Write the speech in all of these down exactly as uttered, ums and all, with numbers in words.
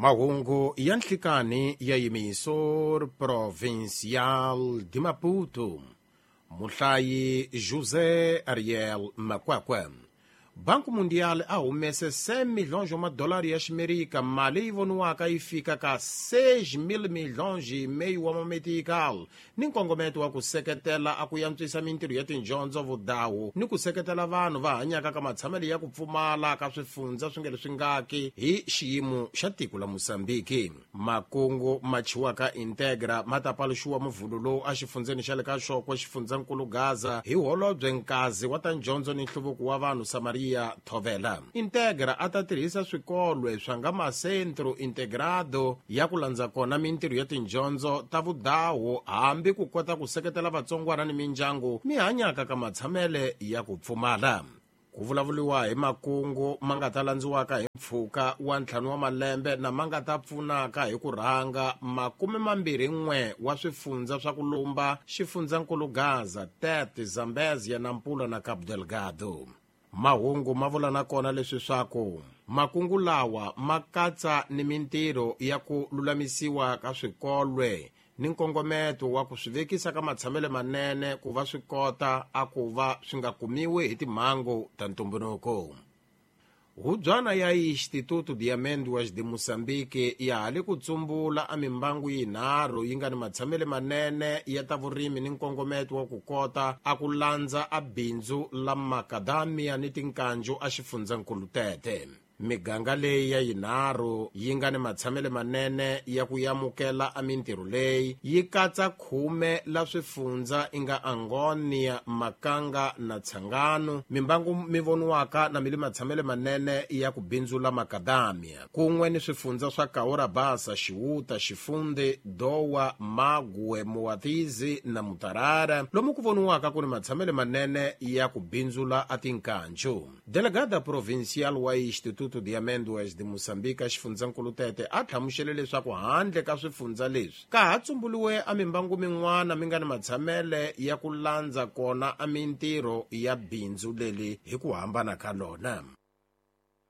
Mahungu ya nhlikani ya Emissora Provincial de Maputo. Muhlayi José Ariel Makwakwe. Banco Mundial a humese cem milhões de dólares ya Ximerika, mali yi voniwaka yi fika ka seis mil milhões e meio wa mametical, ni nkongometo wa ku seketela a ku yantswisa mintirho ya tindyondzo vudawu ni ku seketela vanhu va hanyaka ka matshamelo ya ku pfumala ka swifundza swi nge leswi ngaki hi xiyimo xa tiko la Mozambique. Makungu ma chiwaka Integra ma ta paluxiwa muvhulu lowu a xifundzeni xa le ka Xokwe xifundzankulu Gaza hi holobye Nkazi wa ta ndyondzo ni nhluvuko wa vanhu Samaria Thovela. Integra a ta tirhisa swikolwe swa nga macentro integrado ya ku landza kona mintirho ya tindyondzo ta vudawu hambi ku kota ku seketela vatsongwana ni mindyangu mi hanyaka ka matshamele ya ku pfumala. Ku vulavuriwa hi makungu ma nga ta landziwaka hi mpfhuka wa ntlhanu wa malembe na ma nga ta pfunaka hi ku rhanga makume mambirhi n'we wa swifundza swa ku lumba xifundzankulu Gaza, Tete, Zambezia, Nampula na Cabo Delgado. Mahungu ma vula na kona leswi swaku makungu lawa ma katsa ni mintirho ya ku lulamisiwa ka swikolwe ni nkongometo wa ku swi vekisa ka matshamelo manene ku va swi kota a ku va swi nga kumiwi hi timhangu ta ntumbuluko. Hubyana ya Instituto de Amêndoas de Moçambique ya ha le ku tsumbula a mimbangu yinharhu yi nga ni matshamelo manene ya ta vurimi ni nkongometo wa ku kota a ku landza a bindzu la macadamia ni tinkanju a xifundzankulu Tete. Miganga leyi ya yinharhu yi nga ni matshamelo manene ya ku yamukela a mintirho leyi yi katsa khume la swifundza i nga Angonia, Makanga na Tsangano, mimbangu mi voniwaka na mi le matshamelo manene ya ku bindzula macadamia, kun'we ni swifundza swa Kaura Basa, Xiwuta, Xifunde, Dowa, Magwe, Muatizi na Mutarara, lomu ku voniwaka ku ni matshamelo manene ya ku bindzula a tinkanju. Delegada provincial wa Instituto de Amêndoas de Moçambique xifundzankulu Tete a hlamusele leswaku handle ka swifundza leswi ka ha tsumbuliwe a mimbangu min'wana mi nga ni matshamele ya ku landza kona a mintirho ya bindzu leli hi ku hambana ka lona.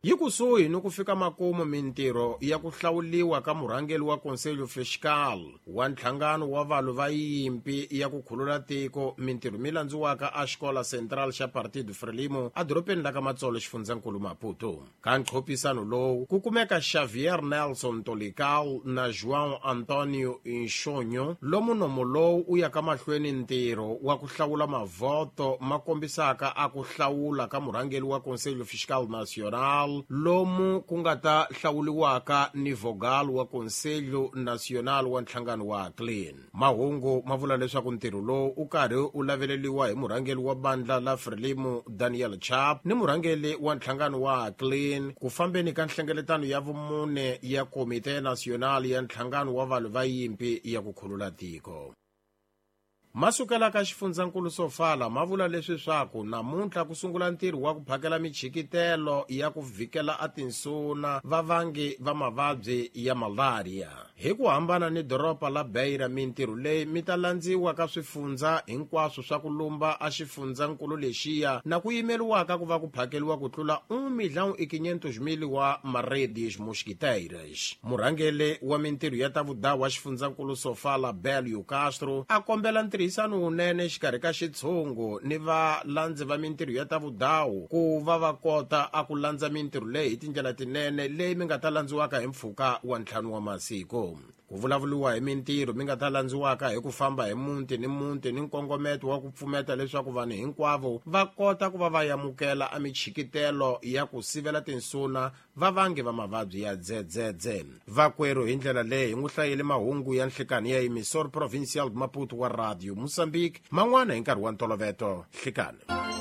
Yi kusuhi ni ku fika makumu mintirho ya ku hlawuliwa ka murhangeri wa Conselho Fiscal wa nhlangano wa valwi va yimpi ya ku khulula tiko, mintirho mi landziwaka a Xikola Central xa Partido Frelimo a dorobeni la ka Matsolo xifundzankulu Maputo. Ka nqophisano lowu ku kumeka Xavier Nelson Tolical na João Antonio Inxonyo, lomu nomo lowu u ya ka mahlweni ntirho wa ku hlawula mavhoto ma kombisaka a ku hlawula ka murhangeri wa Conselho Fiscal Nacional, lomu ku nga ta hlawuliwaka ni vogal wa Conselho Nacional wa nhlangano wa Clean. Mahungu ma vula leswaku ntirho lowu u karhi u laveleliwa hi murhangeri wa bandla la Frelimo Daniel Chap ni murhangeri wa nhlangano wa Clean ku fambeni ka nhlengeletano ya vumune ya Komite Nacional ya nhlangano wa valwi va yimpi ya ku khulula tiko. Masukela ka xifundzankulu Sofala ma vula leswi swaku namuntlha ku sungula ntirho wa ku phakela michikitelo ya ku vhikela a tinsuna vavangi va mavabyi ya malaria. Hi ku hambana ni doroba la Beira, mintirho leyi mi ta landziwa ka swifundza hinkwaswo swa ku lumba a xifundzankulu lexiya na ku yimeriwaka ku va ku phakeliwa ku tlula um milhão e quinhentos mil wa maredes mosquiteiras. Murhangeri wa mintirho ya ta vudawu wa xifundzankulu Sofala Belio Castro a kombela ntirho tirhisano wunene xikarhi ka xitshungu ni valandzi va mintirho ya ta vudawu ku va va kota a ku landza mintirho leyi hi tindlela tinene leyi mi nga ta landziwaka hi mpfhuka wa ntlhanu wa masiku. Ku vulavuriwa hi mintirho mi nga ta landziwaka hi ku famba hi muti ni muti ni nkongometo wa ku pfumeta leswaku vanhu hinkwavo va kota ku va va yamukela a michikitelo ya ku sivela tinsuna vavangi va mavabyi ya dzedzedze. Vakwerhu hi ndlela leyi hi n'wi hlayele mahungu ya nhlikani ya Emissora Provincial de Maputo wa Radio Mozambique, man'wana hi nkarhi wa ntoloveto. Nhlikani.